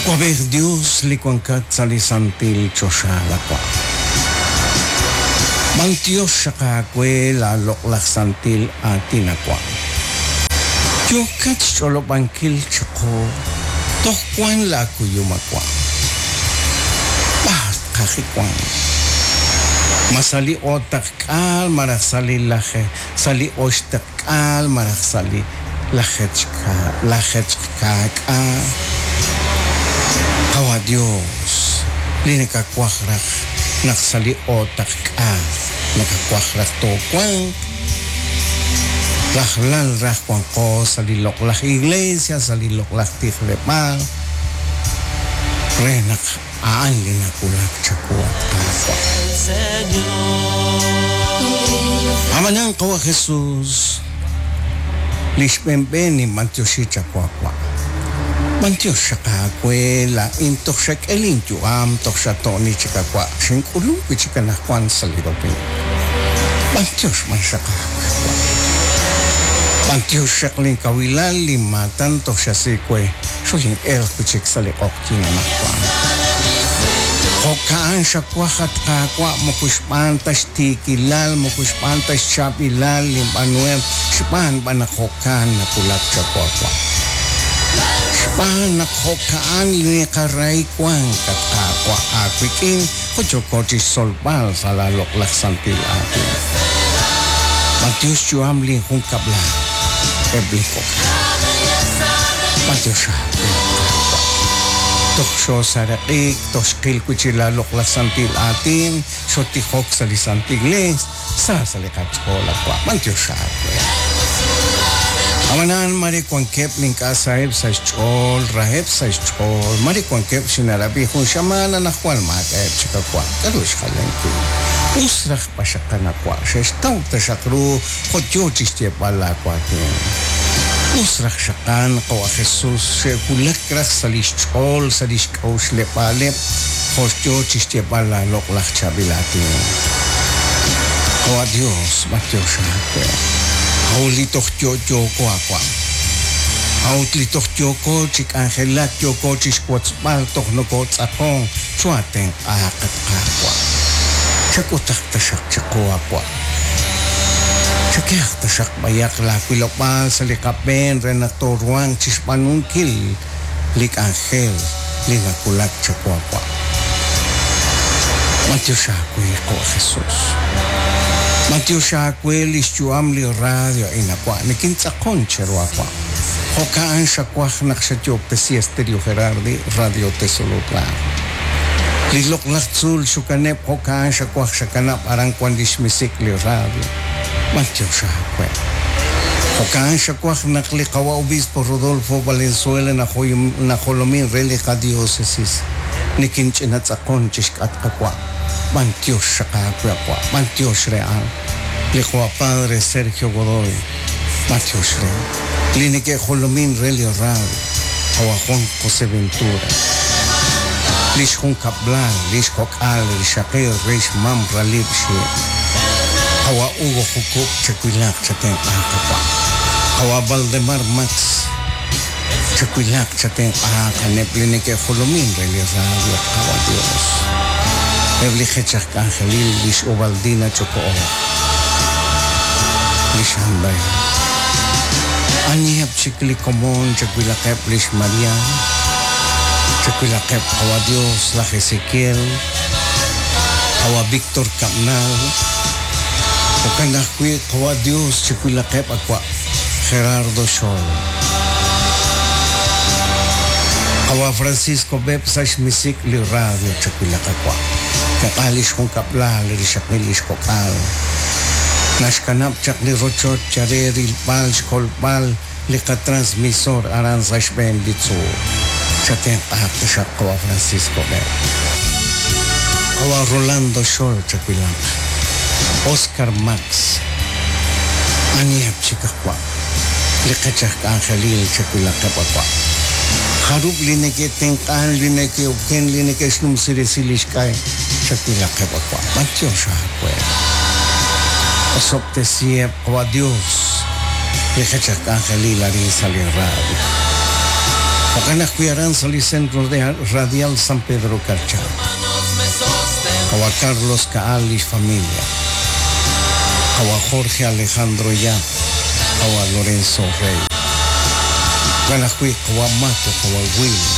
Awab'ej Dios li wankat sa' li santil choxa lawa'. B'antiox xaq aawe laaloq'laj santil aatin awa'. Yookat xch'olob'ankil chiqu toj wank laakuyum awa'. B'ar tqaji wank? Ma sa' li o'taqk'aal malaj sa' li laje sa' li oxtaqk'aal malaj sa' li lajeetqkaak'aal? Qawa' Dios, li nakawaj raj naq sa' li o'taqk'aal nakawaj raj toowanq, rajlal raj wanqo sa' li loq'laj iglesia, sa' li loq'laj tijleb'aal, re naq a'an li nawulak chawu, at Qaawa'. Ab'anan, Qawa' Jesús, li xb'een ninb'antioxi chawu awa'. B'antiox xaq aawe laa'in toj xak'e linyu'am, toj xato'ni chik awa', xink'ulunk wi' chik anaqwan sa' li domingo. B'antiox b'an xaq aawe awa'. B'antiox xaq linkawilal, linmaatan toj xasi we, xolin'elq wi' chik sa' li q'oqyink anaqwan. Jo'ka'an xawaj, at Qaawa', moko xb'aan ta xtiikilal, moko xb'aan ta xchaab'ilal linb'aanuhem, xb'aan b'an naq jo'kan nawulak chawu awa'. Xb'aan naq jo'ka'an li qarahi wank, at Qaawa', aawik'in, jo' yooko chi xtzolb'al sa' laaloq'laj santil aatin. B'antiox xyu'am linjunkab'lal, eb' li kok'al. B'antiox aawe, at Qaawa'. Toj xoosaraq'ik, toj xqil wi' chik laaloq'laj santil aatin, xotijok sa' li santil iglees, sa sa' li qach'ool, at Qaawa'. B'antiox aawe. Ab'anan mare wankeb' li ink'a' saheb' sa' xch'ool, raheb' sa' xch'ool, mare wankeb' xinarab'i jun xamaan anaqwan maak'a'eb' chik awa'. K'aru xjalenkil? Us raj b'axaqan awa', xe'xtaw taxaq ru jo' yo chi xyeeb'al laawaatin. Us raj xaqan, qawa' Jesús, xe'wulak raj sa' li xch'ool, sa' li xk'a'uxleb'aaleb' jo' yo chi xyeeb'al laaloq'laj chaab'il aatin. Qawa' Dios, b'antiox aawe. A'ut li toj yo'yooko awa'. A'ut li toj yooko chi k'anjelak, yooko chi xwotzb'al, toj nokootz'aqonk, choo'atenq'aaq, at Qaawa'. Chak'utaq taxaq chiqu awa'. Chakehaq taxaq b'ayaq laawilob'aal sa' li qab'een re naq tooruhanq chi xb'aanunkil li k'anjel li nawulak chawu awa'. B'antiox aawe, Qawa' Jesús. B'antiox aawe li xyu'am li radio a'in awa'. Nikintz'aqon cheru awa'. Jo'ka'an xawaj naq xayoob'tesi Estéreo Gerardi, Radio Tezulutlán. Li loq'laj tzuul xukaneb' jo'ka'an xawaj xakanab' aran wan li xmisik' li radio. B'antiox aawe. Jo'ka'an xawaj naq li Qawa' Obispo Rodolfo Valenzuela najolomin re li qadiócesis. Nikinch'inatz'aqon chixk'atq awa'. B'antiox xaq aawe awa'. B'antiox re a'an. Li Qawa' Padre Sergio Godoy. B'antiox re. Li neke'jolomin re li radio. Qawa' Juan José Ventura. Li xjunkab'lal, li xkok'al, li rixaqil, re xmam ralib' xi'. Qawa' Hugo Jukub' chawilaq chatenq'aaq awa'. Qawa' Valdemar Max. Chawilaq chatenq'aaq a'aneb' li neke'jolomin re li radio, at Qawa' Dios. Eb' li qech aj k'anjelil, lix Ubaldina Ch'oko'o, lix Andrea. Aniheb' chik li komon chawilaqeb' lix Maria, chawilaqeb' Qawa' Dios, laj Ezequiel, Qawa' Victor Cabnal, jo'kan ajwi' Qawa' Dios chawilaqeb' awa' Gerardo Xol. Qawa' Francisco Beb' sa' xmisik' li radio chawilaq awa'. Tenq'a li xjunkab'lal, li rixaqil, li xkok'al. Naxkanab' chaq li rochoch chare rilb'al xkolb'al li qatransmisor aran sa' xb'een li tzuul. Chatenq'aaq taxaq Qawa' Francisco Beb'. Qawa' Rolando Xol chawilaq. Oscar Max. Aniheb' chik awa'? Li qech aj k'anjelil chawilaqeb' awa'. Jarub' li neke'tenq'an, li neke'oken, li neke'xnumsi resil li xk'ay, chawilaqeb' awa'. B'antiox aawe. Osob'tesiheb' Qawa' Dios li qech aj k'anjelil arin sa' li radio. Jo'kan ajwi' aran sa' li Centro Radial San Pedro Carchá. Qawa' Carlos Caal li xfamilia. Qawa' Jorge Alejandro Yap. Qawa' Lorenzo Rey. Jo'kan ajwi' qawa' Mato, qawa' Willy.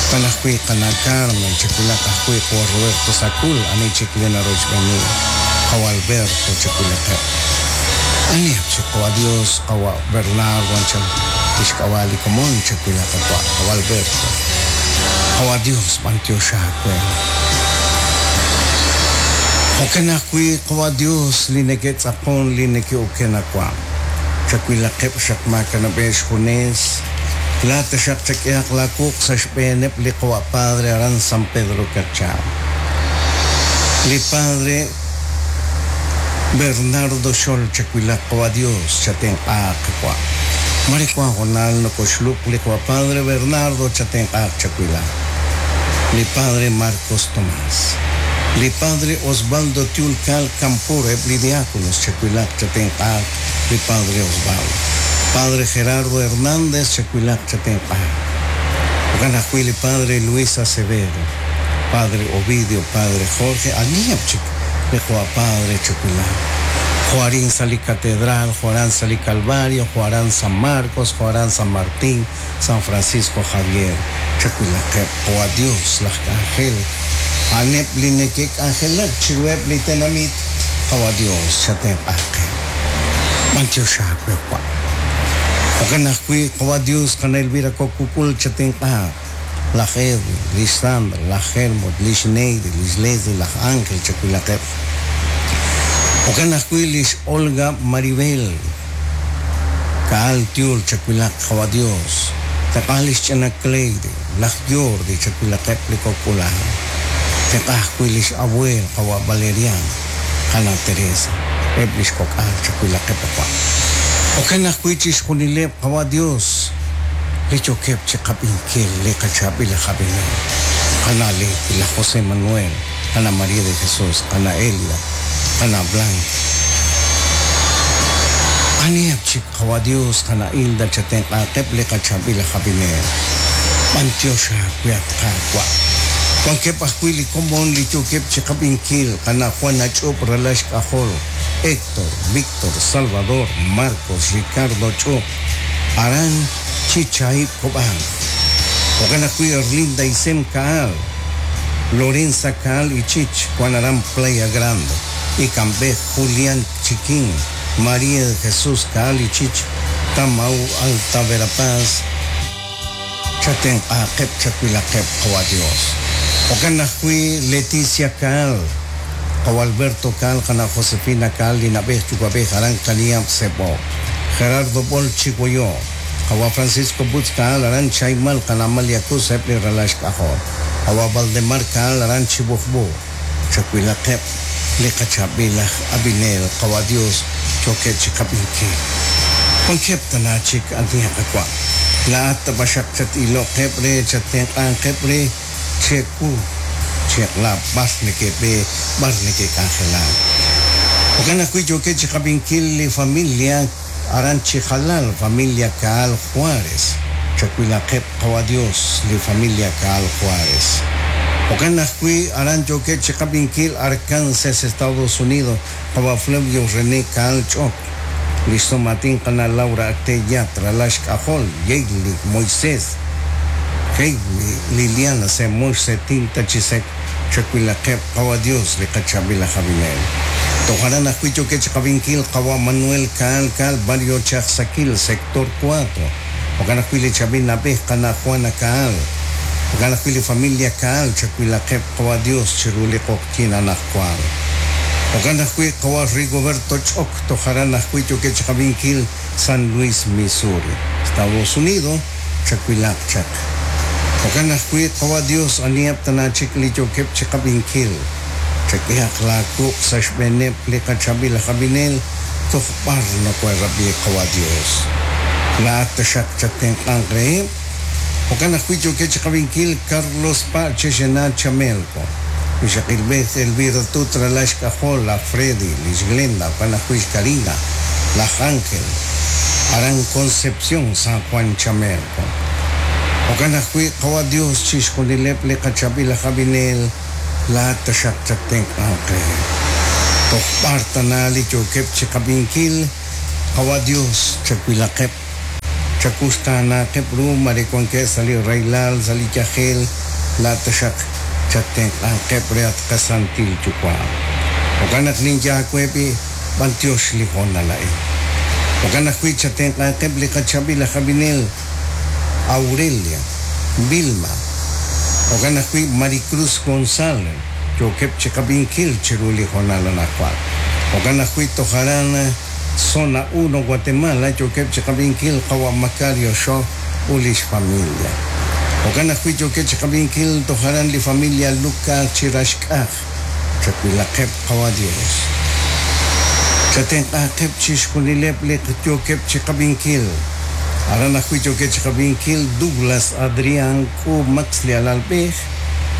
Jo'kan ajwi' qana' Carmen, chawilaq ajwi' qawa' Roberto Sacul, ani chik li narochb'eeni. Qawa' Alberto, chawilaqeb'. Aniheb' chik qawa' Dios, qawa' Bernardo anchal tixk'ab'a' li komon, chawilaq qawa' qawa' Alberto. Qawa' Dios, b'antiox aawe. Jo'kan ajwi' qawa' Dios li neke'tz'aqon li neke'oken awa'. Chawilaqeb' xaq maakanab'eb' xjunes. Laa'at taxaq chak'ehaq laawuq' sa' xb'eeneb' li qawa' Padre aran San Pedro Carchá. Li Padre Bernardo Xol chawilaq qawa' Dios chatenq'aaq qawa'. Mare wank hoonal nokoxluq li qawa' Padre Bernardo chatenq'aaq chawilaq. Li Padre Marcos Tomás. Li Padre Osvaldo Tiul Caal Campur eb' li diáconos chawilaq chatenq'aaq li Padre Osvaldo. Padre Gerardo Hernández chawilaq chatenq'aaq. Jo'kan ajwi' li Padre Luis Acevedo, Padre Ovidio, Padre Jorge, aniheb' chik li qawa' Padre chawilaq. Jo' arin sa' li Catedral, jo' aran sa' li Calvario, jo' aran San Marcos, jo' aran San Martín, San Francisco Javier, chawilaqeb' qawa' Dios laj k'anjel, a'aneb' li neke'k'anjelak chiruheb' li tenamit, qawa' Dios chatenq'aqeb'. B'antiox aawe wa'. Jo'kan ajwi' qawa' Dios qana' Elvira Kok Kukul chatenq'aq, laj Edwin, lix Sandra, laj Helmut, lix Neidy, lix Leslie, laj Ángel chawilaqeb'. Jo'kan ajwi' lix Olga Maribel, Caal Tiul chawilaq qawa' Dios, tenq'a lix ch'ina Cleidy, laj Jordi chawilaqeb' li kok'ulaj. Tenq'a ajwi' lix abuel qawa' Valeriano, qana' Teresa, eb' lix kok'al chawilaqeb' wa'. Jo'kan ajwi' chixjunileb' qawa' Dios li yookeb' chi qab'inkil li qachaab'il aj ab'inel, qana' Leti, laj José Manuel, qana' María de Jesús, qana' Elida, qana' Blanca. Aniheb' chik qawa' Dios, qana' Hilda chatenq'aaqeb' li qachaab'il aj ab'inel. B'antiox aawe at Qaawa'. Wankeb' ajwi' li komon li yookeb' chi qab'inkil, qana' Juana Ch'up ralal xk'ajol, Héctor, Víctor, Salvador, Marcos, Ricardo Ch'up, aran Chichaib' Cobán. Jo'kan ajwi' Erlinda Isem Caal, Lorenza Caal Ichich, wank aran Playa Grande, Ikamb'ej, Julián Chiquín, María de Jesús Caal Ichich, Tamau Alta Verapaz, chatenq'aaqeb' chawilaqeb' qawa' Dios. Jo'kan ajwi' Leticia Caal, qawa' Alberto Caal, qana' Josefina Caal li na'b'ej yuwa'b'ej aran Kaniab' Sebo, Gerardo Bol Chigoyo, qawa' Francisco Butz Caal aran Chaymal, qana' Amalia Cruz eb' li ralal xk'ajol, qawa' Valdemar Caal aran Chibujbu, chawilaqeb' li qachaab'il aj ab'inel qawa' Dios yookeb' chi qab'inkil. Wankeb' tana chik anihaq qawa'. Laa'at tab'axaq chat-iloqeb' re chatenq'anqeb' re chewu cheq'la b'ar neke'b'e b'ar neke'k'anjelak. Jo'kan ajwi' yookeb' chi qab'inkil li familia aran chi jalal, familia Caal Juárez. Chawilaqeb' qawa' Dios li familia Caal Juárez. Jo'kan ajwi' aran yookeb' chi qab'inkil Arkansas, Estados Unidos, qawa' Flavio René Caal Ch'ok, lix somatin qana' Laura Acté Yat, ralal xk'ajol, Yeili, Moisés, Heidi, Liliana, Semox, Setinta Chisek, chawilaqeb' qawa' Dios li qachaab'il aj ab'inel. Toj aran ajwi' yookeb' chi qab'inkil qawa' Manuel Caal Caal, barrio Chajsakil, sector 4. Jo'kan ajwi' li chaab'il na'b'ej qana' Juana Caal. Jo'kan ajwi' li familia Caal chawilaqeb' qawa' Dios chiru li q'oqyink anaqwan. Jo'kan ajwi' qawa' Rigoberto Ch'ok toj aran ajwi' yookeb' chi qab'inkil San Luis, Missouri, Estados Unidos, chawilaq chaq. Jo'kan ajwi' qawa' Dios aniheb' tana chik li yookeb' chi qab'inkil. Chak'ehaq laawuq' sa' xb'eeneb' li qachaab'il aj ab'inel toj b'ar nokoherab'i qawa' Dios. Laa'at taxaq chatenq'anq reheb'. Jo'kan ajwi' yookeb' chi qab'inkil Carlos Pa' Chexena Chamelco, rixaqilb'ej Elvira Tut ralal xk'ajol, laj Freddy, lix Glenda, jo'kan ajwi' xKarina, laj Ángel, aran Concepción, San Juan Chamelco. Jo'kan ajwi' Qawa' Dios chixjunileb' li qachab'il aj ab'inel laa'at taxaq chattenq'anq reheb'. Toj b'ar tana li yookeb' chiqab'inkil, Qawa' Dios chawilaqeb', chawuxtaanaaqeb' ru mare wankeb' sa' li rahilal, sa' li yajel, laa'at taxaq chattenq'anqeb' re at qasantil Yuwa'. Jo'kan naq ninye aawe b'i' b'antiox li hoonal a'in. Jo'kan ajwi' chatenq'anqeb' li qachab'il aj ab'inel Aurelia, Vilma, jo'kan ajwi' Maricruz González yookeb' chiqab'inkil chiru li hoonal anaqwan. Jo'kan ajwi' toj aran Zona 1 Guatemala yookeb' chiqab'inkil qawa' Macario Xo ut lix familia. Jo'kan ajwi' yookeb' chiqab'inkil toj aran li familia Luca Chiraxk'aj. Chawilaqeb' Qawa' Dios. Chatenq'aaqeb' chixjunileb' li yookeb' chiqab'inkil. Aran ajwi' yookeb' chiqab'inkil Douglas Adrián K'u Max li alalb'ej,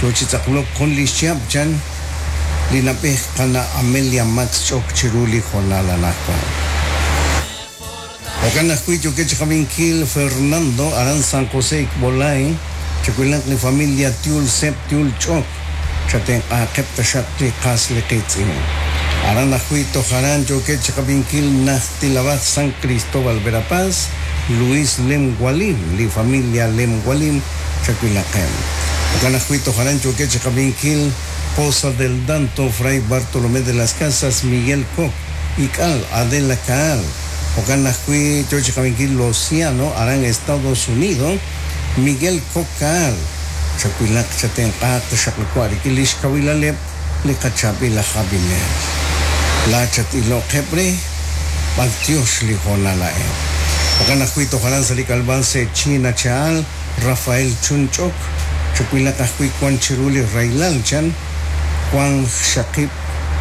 yo chi tz'aqlok jun li xchihab' chan li nab'ej qana' Amelia Max ch'ok chiru li hoonal anaqwan. Jo'kan ajwi' yookeb' chiqab'inkil Fernando aran San José Ikb'olay, chawilaq li familia Tiul Seb Tiul Ch'ok, chatenq'aaqeb' taxaq li qas li qiitz'in. Aran ajwi' toj aran yookeb' chiqab'inkil Najtilab'aj San Cristóbal Verapaz, Luis Lem Gualim, li familia Lem Gualim, chawilaqeb'. Jo'kan ajwi' toj aran yookeb' chiqab'inkil Poza del Danto, Fray Bartolomé de las Casas, Miguel Coc, Ik'al, Adela Caal, jo'kan ajwi' yo chiqab'inkil Lociano aran Estados Unidos, Miguel Coc Caal, chawilaq chatenq'aaq taxaq li wa' rik'in li xkawilaleb' li qachaab'il aj ab'inel. Laa'at chat-iloqeb' re, b'antiox li hoonal a'in. Jo'kan ajwi' toj aran sa' li k'alb'al se' China Cha'al, Rafael Chunch'ok, chawilaq ajwi' wan chiru li rahilal chan, Wank xaqib'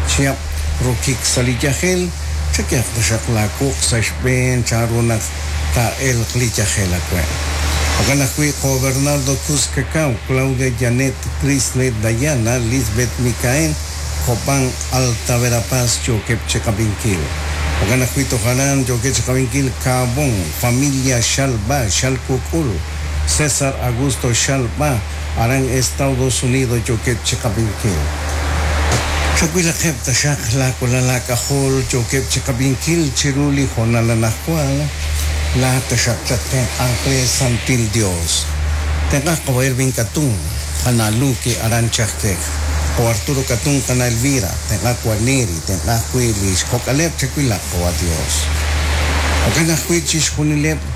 chihab' rokik sa' li yajel, chak'ehaq taxaq laawuq' sa' xb'een chanru naq taa'elq li yajel awe'. Jo'kan ajwi' jo' Bernardo Cuz Cacao, Claudia Janet, Crisle Dayana, Lisbeth Micael, Copán, Alta Verapaz yookeb' chi qab'inkil. Jo'kan ajwi' toj aran yookeb' chi qab'inkil Caabón, Familia Xalb'a, Xalkuk'ul, César Augusto Xalb'a, aran Estados Unidos yookeb' chi qab'inkil. Chawilaqeb' taxaq laawalal aak'ajol yookeb' chi qab'inkil chiru li hoonal anaqwan, laa'at taxaq chattenq'anq re Santil Dios. Tenq'aj qawa' Ervin Katún, qana' Luke aran Chajkej, jo' Arturo Katún qana' Elvira, tenq'aj wa' Neri, tenq'aj wi' li xkok'aleb' chawilaq qawa' Dios. Jo'kan ajwi' chixjunileb'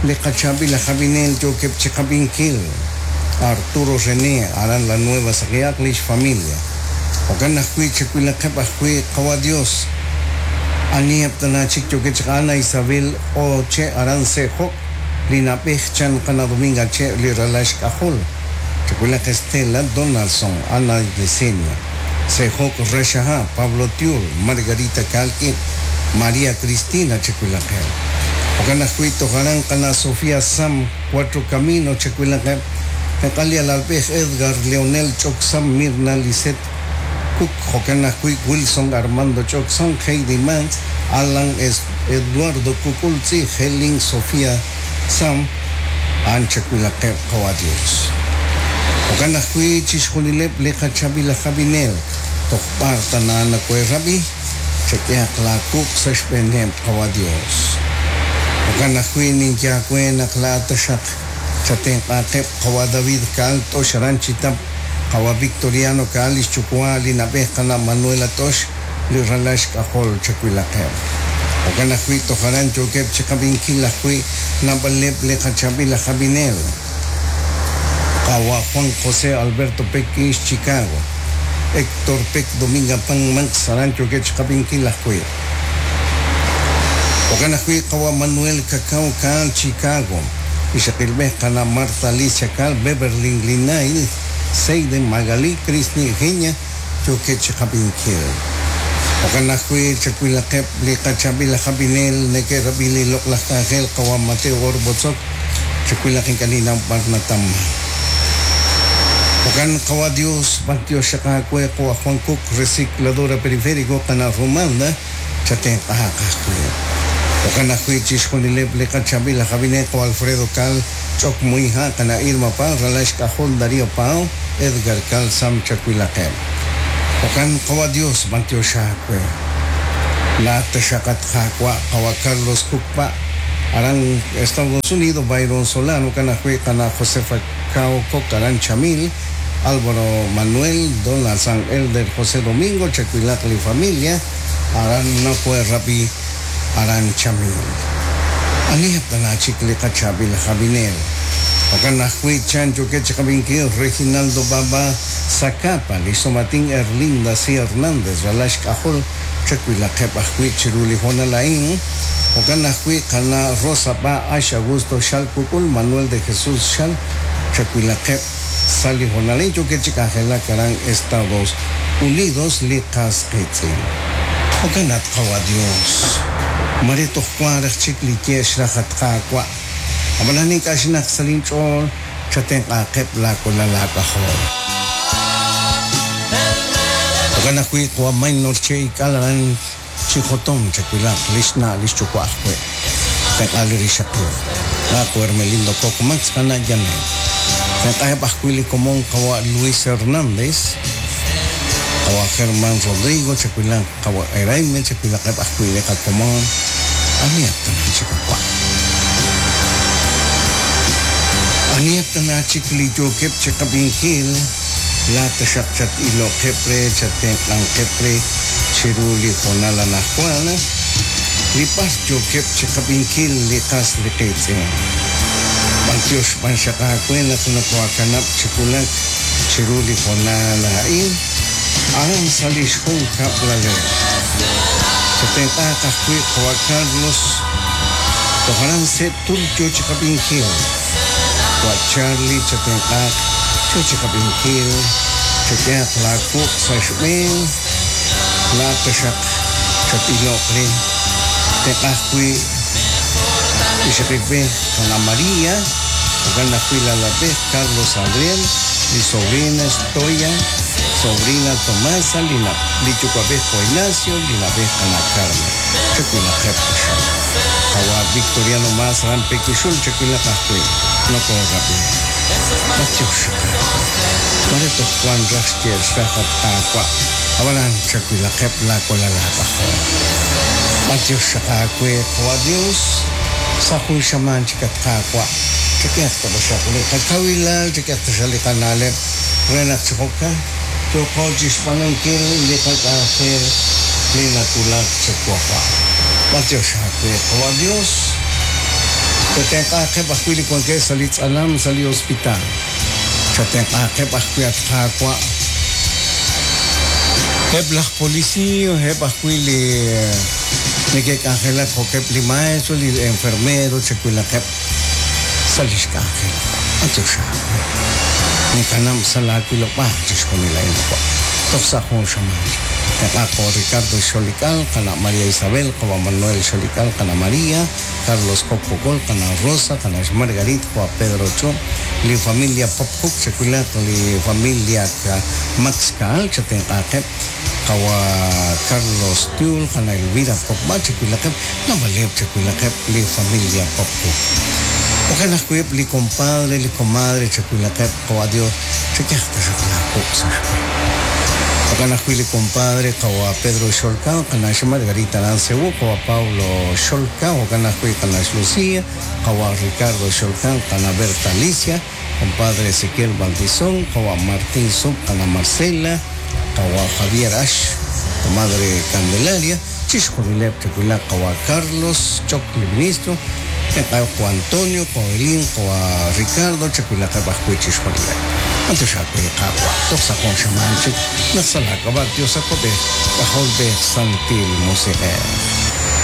li qachaab'il aj ab'inel yookeb' chi qab'inkil, Arturo René, aran La Nueva Saqiaq li xfamilia. Jo'kan ajwi' chawilaqeb' ajwi' Qawa' Dios, aniheb' tana chik yookeb' chaq Ana Isabel O. Che' aran Se'jok, li na'b'ej chan qana' Dominga Che' li ralal xk'ajol. Chawilaq Estela Donaldson, Ana Yesenia, Se'jok Raxaha, Pablo Tiul, Margarita Kalk'ib', María Cristina chawilaqeb'. Jo'kan ajwi' toj aran qana' Sofía Sam, Cuatro Caminos chawilaqeb', tenq'al li alalb'ej Edgar Leonel Ch'oksam, Mirna Lisette Cook, jo'kan ajwi' Wilson Armando Ch'oksam, Heidi Mans, Alan Eduardo Kukultzi, Helen Sofía Sam, a'an chawilaqeb' Qawa' Dios. Jo'kan ajwi' chixjunileb' li qachaab'il aj ab'inel toj b'ar tana nawe'rab'i, chak'ehaq laawuq' sa' xb'eeneb' Qawa' Dios. Jo'kan ajwi' ninye aawe naq laa'at taxaq chatenq'aaqeb' Qawa' David Caal T'ox aran Chitap, Qawa' Victoriano Caal li xyuwa' li na'b'ej qana' Manuela T'ox li ralal xk'ajol chawilaqeb'. Jo'kan ajwi' toj aran yookeb' chiqab'inkil ajwi' naab'aleb' li qachaab'il aj ab'inel. Qawa' Juan José Alberto Peck Ix, Chicago. Héctor Peck Dominga Pan Max aran yookeb' chiqab'inkil ajwi'. Jo'kan ajwi' qawa' Manuel Cacao Caal, Chicago. Ixaqilb'ej qana' Marta Alicia Caal, Beverly Linay, Seiden Magalí, Crisni Eugenia, yookeb' chiqab'inkil. Jo'kan ajwi' chawilaqeb' li qachaab'il aj ab'inel neke'rab'i li loq'laj k'anjel qawa' Mateo Orbotzok, chawilaq ink'a' ninnaw b'ar natamman. Jo'kan qawa' Dios, b'antiox xaq aawe jo' aj Juan Cook, Recicladora Periférico, qana' Romalda, chatenq'aaq ajwi'. Jo'kan ajwi' chixjunileb' li qachaab'il aj ab'inel jo' Alfredo Caal, Ch'ok Muiha, Qana Irma Pao, Ralax Kajol Darío Pao, Edgar Calzam Chacuilaqeb. Jo'kan Qawa' Dios b'antiox aawe. Laa'at taxaq at Qaawa' Qawa' Carlos Kukpa' aran Estados Unidos, Byron Solano, jo'kan ajwi' Qana' Josefa Cao Coc aran Chamil, Álvaro Manuel, Donald San Elder José Domingo, Chacuilaq li familia, aran Nocue Rabi aran Chamil. Aniheb tana chik li qachaab'il aj ab'inel. Jo'kan ajwi' chan yookeb' chi qab'inkil Reginaldo Baba Zacapa, li xsomatin Erlinda C. Hernández, ralal xk'ajol chawilaqeb' ajwi' chiru li hoonal a'in. Jo'kan ajwi' qana' Rosa Ba Ax Augusto Xal Kukul, Manuel de Jesús Xal, chawilaqeb' sa' li hoonal a'in yookeb' chi k'anjelak aran Estados Unidos li qas qiitz'in. Jo'kan at Qawa' Dios, mare toj wank raj chik li ye xraj at Qaawa', ab'anan ink'a' xnaq sa' linch'ool chatenq'aaqeb' laawalal aak'ajol. Jo'kan ajwi' Qawa' Maynor Che Ik'al aran Chi Jotom chawilaq li xna' li xyuwa' ajwi'. Tenq'a li rixaqil. Laaw Hermelindo Coc Max qana' Janet. Tenq'aheb' ajwi' li komon Qawa' Luis Hernández, Qawa' Germán Rodrigo, chawilaq Qawa' Eraime, chawilaqeb' ajwi' li qakomon. Aniheb' tana chik wa'? Aniheb' tana chik li yookeb' chi qab'inkil? Laa'at taxaq chat-iloqeb' re, chattenq'anqeb' re chiru li hoonal anajwan, li b'ar yookeb' chiqab'inkil li qas li qiitz'in. B'antiox b'an xaq aawe naq nokoakanab' chi wulak chiru li hoonal a'in, aran sa' lix junkab'laleb'. Chatenq'aaq ajwi' qawa' Carlos, toj aran Se'tul yoo chiqab'inkil. Wa' Charlie, chatenq'aaq yoo chiqab'inkil, chak'ehaq laa wuq' sa' xb'een, laa'at taxaq chat-iloq re. Tenq'a ajwi' ixaqilb'ej Qana' María, jo'kan ajwi' laalalb'ej Carlos Adriel, li sobrina Xtoya, sobrina Tomasa, li li yuwa'b'ej Jo' Ignacio, li na'b'ej Qana' Carmen. Chawilaqeb' taxaq. Qawa' Victoriano Maas aran Pequixul chawilaq ajwi'. Nokoorab'i. B'antiox xaq aawe. Mare toj wank raj xye'l xraj at Qaawa', ab'anan chawilaqeb' laawalal aak'ajol. B'antiox xaq aawe, Qawa' Dios, sa' jun xamaan chik at Qaawa', chak'ehaq ta taxaq li qakawilal, chak'ehaq taxaq li qana'leb' re naq chi jo'kan yooqo chixb'aanunkil li qak'anjel li nawulak chawu. B'antiox aawe, Qawa' Dios, chatenq'aaqeb' ajwi' li wankeb' sa' li tz'alam sa' li hospital. Chatenq'aaqeb' ajwi' at Qaawa'. Eb' laj polisiiy, eb' ajwi' li neke'k'anjelak jo'keb' li maestro, li enfermero, chawilaqeb' sa' lix k'anjel. B'antiox aawe. Ninkanab' sa' laa wilob'aal chixjunil a'in wa'. Toj sa' jun xamaan chik. Tenq'a jo' Ricardo Xolik'al, qana' María Isabel, qawa' Manuel Xolik'al, qana' María, Carlos Coc Pocol, qana' Rosa, qana' xMargarit, qawa' Pedro Cho, li familia Pop Cook, chawilaq li familia Max Caal, chatenq'aaqeb' qawa' Carlos Tiul, qana' Elvira Pop Ba, chawilaqeb' naab'aleb' chawilaqeb' li familia Pop Cook. Jo'kan ajwi' eb' li compadre, li comadre, chawilaqeb' qawa' Dios, chak'ehaq taxaq laawuq' sa' xb'een. Jo'kan ajwi' li compadre qawa' Pedro Xolka, qana' xMargarita aran Cebú, qawa' Pablo Xolka, jo'kan ajwi' qana' xLucia, qawa' Ricardo Xolka, qana' Berta Alicia, compadre Ezequiel Valdizón, qawa' Martín Sub, qana' Marcela, qawa' Javier Ax, comadre Candelaria, chixjunileb' chawilaq qawa' Carlos Choc li ministro, tenq'aheb' qawa' Antonio, qawa' Elín, qawa' Ricardo, chawilaqeb' ajwi' chixjunileb'. B'antiox aawe Qaawa', toj sa' jun xamaan chik naq sa' laak'ab'a' Dios Awab'ej, K'ajolb'ej, Santil Musiq'ej.